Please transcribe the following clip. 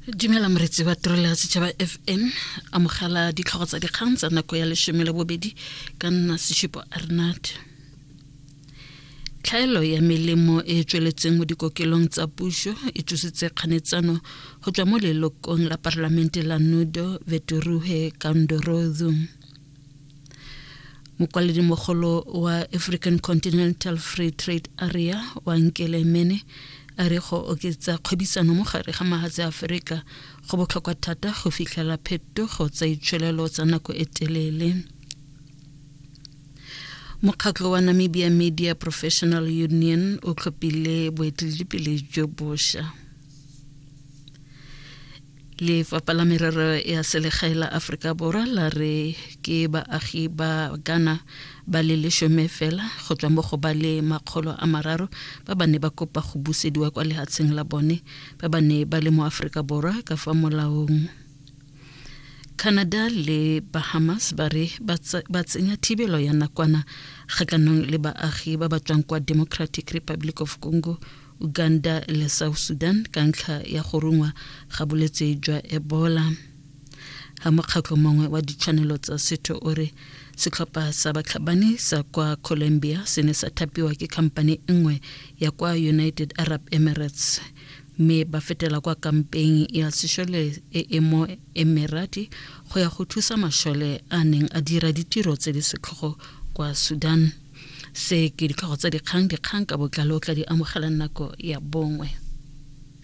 Dumela moretsi wa tirelo ya setšhaba FM, amogela ditlhogo tsa dikgang tsa nako ya leshome le bobedi ka nna Seshupo Arnat. Tlhaelo ya melemo e e tsweletseng mo dikokelong tsa puso e tsositse kganetsano go tswa mo lelokong la parlamente la Nudo Veturuhe Kandorozu. Mokwaledimogolo wa African Continental Free Trade Area wa Nkele Mene a re go oketsa kgwebisano mo gare ga mahatshe a Aforika go botlhokwa thata go fitlhela phetogo tsa itsholelo tsa nako e telele. Mokgatlho wa Namibia Media Professional Union o tlhophile boeteledipele jo bosha. Lefapha la Merero ya Selegae la Aforika Borwa la re ke baagi ba Ghana ba le leshome fela go tswa mo go ba le 300 ba ba ne ba kopa go busediwa kwa lehatsheng la bone ba ba ne ba le mo Aforika Borwa ka fa molaong. Canada le Bahamas ba re ba tsenya thibelo ya nakwana kgatlhanong le baagi ba ba tswang kwa Democratic Republic of Congo, Uganda le South Sudan ka ntlha ya go rungwa ga bolwetse jwa Ebola. Ha mokgatlho mongwe wa ditshwanelo tsa setho o re setlhopha sa batlhabani sa kwa Colombia se ne sa thapiwa ke khampani nngwe ya kwa United Arab Emirates mme ba fetela kwa kampeng ya sešole e e mo Emirati go ya go thusa mašole a neng a dira ditiro tse di setlhogo kwa Sudan. Se ke ditlhogo tsa dikgang, dikgang ka botlalo o tla di amogela nako ya bongwe.